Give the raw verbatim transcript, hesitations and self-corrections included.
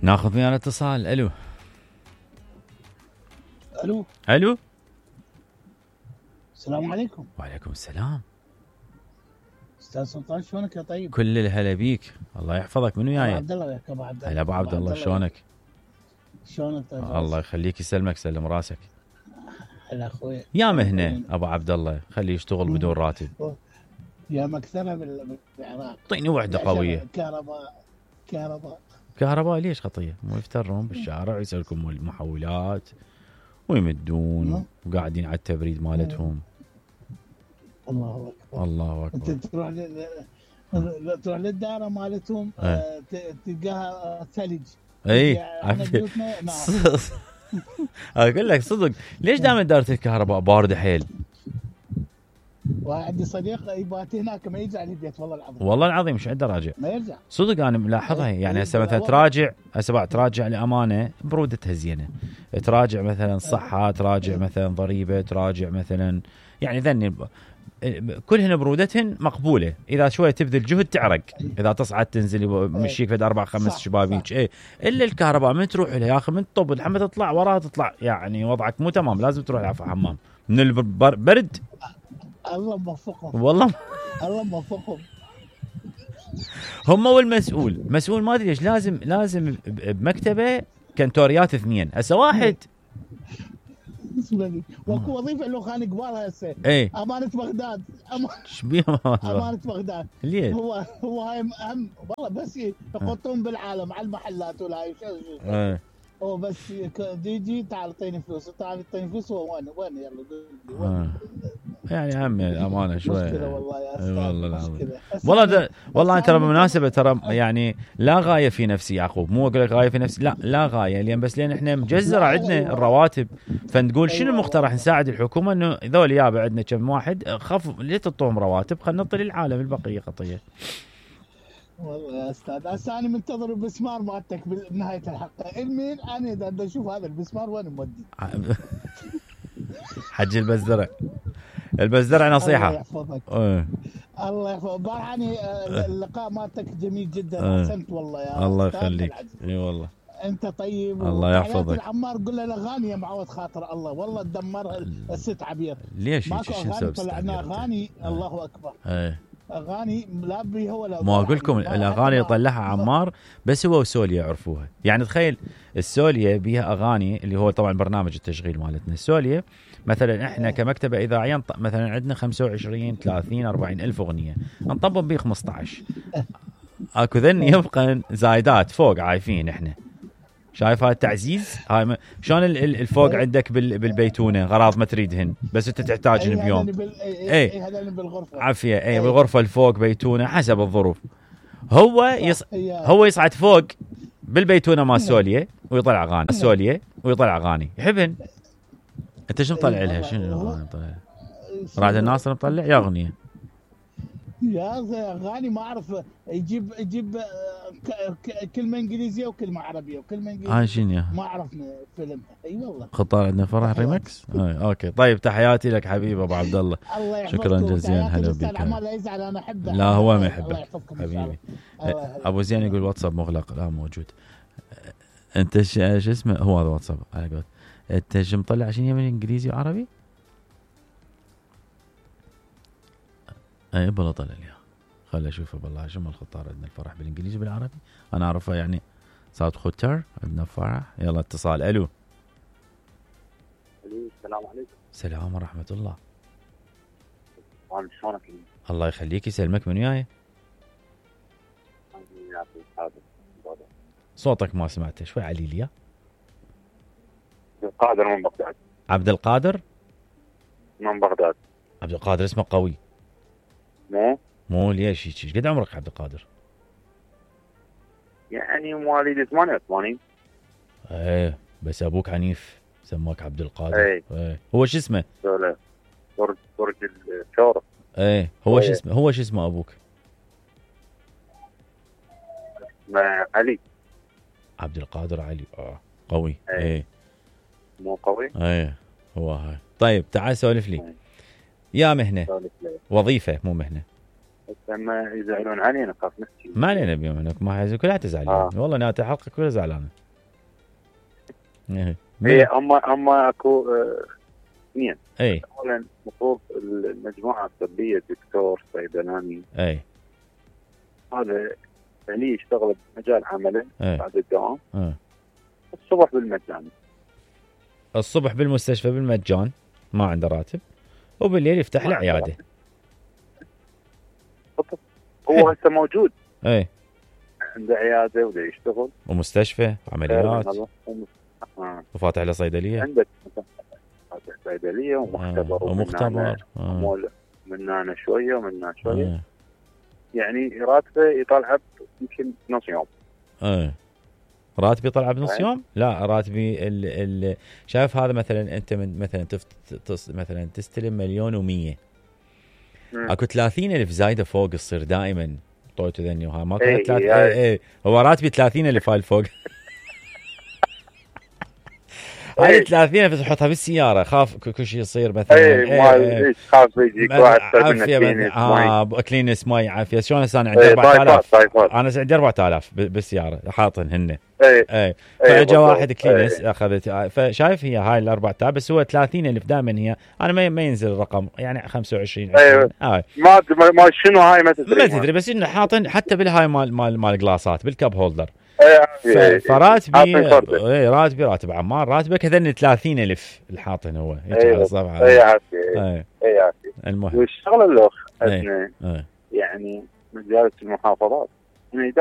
ناخذ ويانا اتصال. الو الو الو السلام عليكم. وعليكم السلام. استاذ سلطان شلونك يا طيب؟ كل الهلا بيك، الله يحفظك. من وياي؟ عبد الله وياك ابو عبد الله. هلا ابو عبد الله، شلونك؟ شلونك طيب؟ الله يخليك يسلمك، سلم راسك. هلا اخوي. يا مهنه ابو عبد الله، خليه يشتغل بدون راتب. يا مكثره بالعراق. اعطيني وحده قويه. كهرباء كهرباء كهرباء ليش خطيه؟ مو يفترون بالشارع ويسلكون المحولات ويمدون وقاعدين على التبريد مالتهم. الله اكبر الله اكبر. انت تروح ل... تروح للدائره مالتهم اه. تلقاها ثلج. اي نعم. اقول لك صدق، ليش دائما دائره الكهرباء بارده حيل؟ وعندي صديق يبات هناك ما يرجع للبيت والله العظيم. والله العظيم مش عنده راجع. ما يرجع. صدق انا ملاحظها، يعني هسه مثلا تراجع هسه بعد تراجع لامانه برودتها زينه، تراجع مثلا صحه، تراجع مثلا ضريبه، تراجع مثلا يعني ذني كلهن برودتهن مقبوله. اذا شويه تبذل جهد تعرق، اذا تصعد تنزل مشيك فد اربع خمس شبابيك. ايه الا الكهرباء من تروح لها يا اخي من طب لحمه تطلع وراها تطلع، يعني وضعك مو تمام، لازم تروح على حمام من البرد. الله موفقهم والله الله موفقهم. هم والمسؤول مسؤول ما ادري ليش لازم لازم بمكتبه كنتوريات اثنين، هسه واحد واكو وظيفه له خانق قبالها هسه. ايه امانه بغداد. ايش بيه امانه بغداد؟ ليه؟ هو هو هاي اهم والله، بس يحطون بالعالم على المحلات ولا هاي شو ايه هو بس يجي تعال اعطيني فلوس، تعال اعطيني فلوس. هو وين وين يلا قول لي وين؟ يعني هم الامانه شويه مشكله والله يا استاذ. والله العظيم والله ده والله ترى بالمناسبه ترى يعني لا غايه في نفسي يعقوب، مو اقول لك غايه في نفسي، لا لا غايه، لان بس لان احنا مجزره عندنا الرواتب، فنقول شنو المقترح نساعد الحكومه انه ذول يابا عندنا كم واحد خف ليه تعطوهم رواتب، خلينا نعطي للعالم البقيه خطيه. والله يا استاذ هسه انا منتظر البسمار مالتك بنهايه الحلقه. المين انا اذا اشوف هذا البسمار وين مودي؟ حج البزرع. البزرع نصيحه. الله يحفظك. اه. الله يحفظك. بارحاني اللقاء مالتك جميل جدا. احسنت والله يا الله يخليك. اي والله انت طيب. الله يحفظك. العمار قول له الاغاني يا معود خاطر الله والله تدمرها الست عبير. ليش ماكو اغاني طلعنا اغاني. اه. الله اكبر. ايه اغاني لا بي هو لا. ما اقول لكم الاغاني اللي طلعها عمار بس هو وسوليا يعرفوها، يعني تخيل السوليا بيها اغاني اللي هو طبعا برنامج التشغيل مالتنا. السوليا مثلا احنا كمكتبه اذاعيه مثلا عندنا خمسة وعشرين ثلاثين أربعين الف اغنيه، نطبق بيه خمسة عشر. اكو ذن يبقى زايدات فوق عايفين احنا. شايف هاي التعزيز؟ هاي م... شلون الفوق عندك بال... بالبيتونه غراض ما تريدهن بس انت تحتاجهن بيوم. بال... اي اي هذا بالغرفه عافيه. اي بالغرفه الفوق بيتونه حسب الظروف. هو يص... هو يصعد فوق بالبيتونه مال سوليا ويطلع اغاني سوليا ويطلع اغاني يحبهن. انت شو مطلع لها؟ شنو مطلع؟ رعد الناصر مطلع يا اغنيه يا اغاني ما اعرف. يجيب يجيب كلمه انجليزيه وكلمه عربيه وكلمه انجليزيه. هاي شنو ما اعرف فيلم. اي والله خطار عندنا فرح ريمكس. آه. اوكي طيب تحياتي لك حبيبي ابو عبد الله. شكرا جزيلا. هلا بك. لا يزعل انا احبه. لا هو ما يحبك حبيبي. ابو زين يقول واتساب مغلق. لا موجود. انت شو اسمه هو هذا واتساب على قولت. انت شو مطلع شنو من انجليزي وعربي؟ اي بلا طلع لي خل اشوفه بالله. شو الخطار عندنا الفرح بالانجليزي بالعربي انا اعرفه يعني صوت خوتر عندنا فرح. يلا اتصال. الو السلام عليكم. السلام ورحمه الله. شلونك؟ الله يخليك يسلمك. من وياي؟ صوتك ما سمعته شوي علي لي. عبد القادر من بغداد. عبد القادر من بغداد. عبد القادر اسمه قوي. مو مو ليش ايش قد عمرك عبد القادر؟ يعني مواليد ثمانية وثمانين. ايه بس ابوك عنيف سماك عبد القادر. ايه, ايه. هو شو اسمه؟ برج برج الثورة. ايه هو شو اسمه هو شو اسمه ابوك؟ اسمه علي. عبد القادر علي. اه قوي. ايه, ايه. مو قوي. ايه هو هاي. طيب تعال سولف لي. ايه. يا مهنه وظيفه مو مهنه. لما يزعلون علينا خاف نحكي. ما علينا بيوم انك ما حيزو كلها تزعلين. آه. والله نهاية الحلقه كلها زعلانه. ايه هي اما اما اكو آه، اثنين. اي اولا المفروض المجموعه الطبيه الدكتور صيدلاني اي هذا اللي يشتغل بمجال عمله اي بعد الدوام اه. الصبح بالمجان، الصبح بالمستشفى بالمجان ما عنده راتب، وبالليل يفتح له عياده. هو هسه موجود اي عنده عياده وده يشتغل ومستشفى عمليات آه. وفاتح له صيدليه. عندك فاتح صيدليه ومختبر آه. ومختبر آه. من هنا شويه ومن هنا شويه آه. يعني راتبه يطلع يمكن نص يوم. ايه راتبي طلع بنص يوم؟ لا راتبي ال ال شايف هذا مثلا انت من مثلا تفت مثلا تستلم مليون ومية، اكو ثلاثين ألف زايده فوق تصير دائما طويتو ذني وها ما كانت ثلاث اي اي هو راتبي ثلاثين ألف هاي الفوق. هاي ثلاثين ألف تحطها بالسياره خاف كل شيء يصير مثلا. اي خاف يجيك واحد عافيه اه كلينس ماي عافيه. شلون هسه انا عندي أربعة آلاف انا عندي أربعة آلاف بالسياره حاطن هن اي اي فاجا واحد كلينس اخذت. فشايف هي هاي ال أربعة آلاف بس هو ثلاثين ألف دائما هي انا ما ما ينزل الرقم يعني خمسة وعشرين ايوه آه. ما ما شنو هاي ما تدري ما تدري بس انه حاطن حتى بالهاي مال مال مال جلاسات بالكاب هولدر. اي فراتبي اي راتبي راتب عمار راتبه كذا ثلاثين ألف الحاطن هو هيك على الصفحه. اي عافيه اي عافيه. المهم والشغله الاخ اي يعني مجالس المحافظات يعني